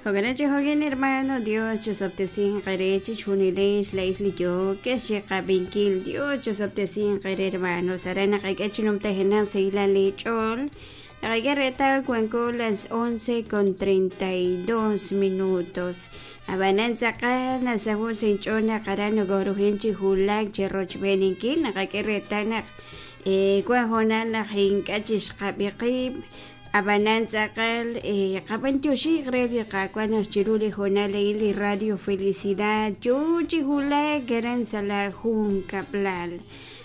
Jo'kan chi jo'kan hermano Dios chosob'tesinq eere chixjunilex laa'ex li yookex chiqab'inkil Dios chosob'tesinq eere hermanos aran naqak'e chi numtajenaq sahilal leech'ool naqak'e reetal wanko las 11 con 32 minutos ab'anan tz'aqal nasaho' sa' inch'ool naq aran nokoruhin chi wulak chi rochb'eeninkil naqak'e reetal naq wan hoonal naq ink'a' chixqab'i qib' Ab'anan tz'aqal qab'antioxiq re li Qaawa' naq chiru li hoonal a'in li Radio Felicidad yoo chi wulak aran sa' la junkab'lal.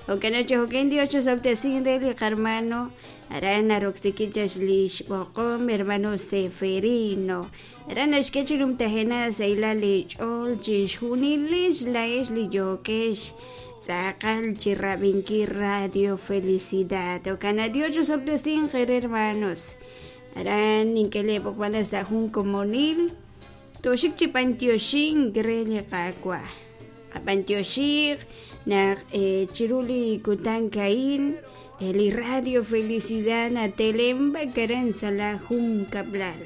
Jo'kan naq chi jo'kan Dios chosob'tesin re li qarmano aran naroksiki chaq li xb'oqom hermano Seferino. Aran naxk'e chi numtajenaq sahilal li ch'ool chixjunilex laa'ex li yookex tz'aqal chi rab'inkil Radio Felicidad. Jo'kan naq Dios chosob'tesinq eere hermanos. Aran nink'e lee b'oqb'al sa' jun komonil tooxik chi b'antioxink re li Qaawa'. Qab'antioxiq naq chiru li kutan a'in li Radio Felicidad natelemb'ak aran sa' la junkab'lal.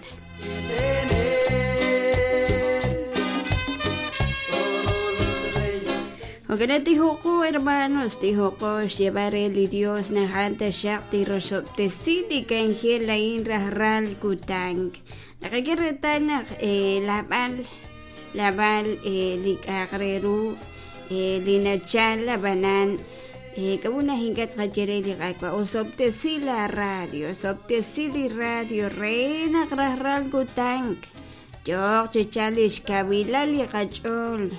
Jo'kan naq tijoqo hermanos, tijoqo xyeeb'al re li Dios naq a'an taxaq tirosob'tesi li k'anjel a'in rajlal kutan. Naqak'e reetal naq laab'al laab'al li k'a'aq re ru li nachal ab'anan k'a'ut naq ink'a' tqaye re li Qaawa' osob'tesi la radio, osob'tesi li radio re naq rajlal kutan yooq chi chalk li xkawilal li qach'ool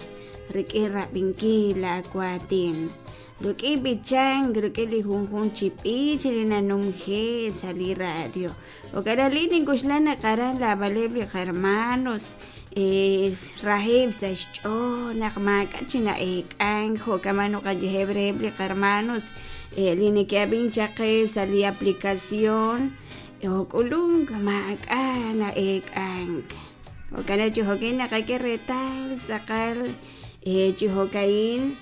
rik'in rab'inkil laawaatin, rik'in b'ichank, rik'in li junjunq chi b'ich li nanumje sa' li radio. Jo'kan li nink'oxla naq aran laab'aleb' li qahermanos raheb' sa' xch'ool naq maak'a' chi na'eek'ank jo'kan naqayeheb' reheb' li qahermanos li neke'ab'ink chaq qe sa' li aplicación ok'ulunk maak'a' na'eek'ank. Jo'kan chi jo'kan naqak'e reetal tz'aqal chi jo'ka'in.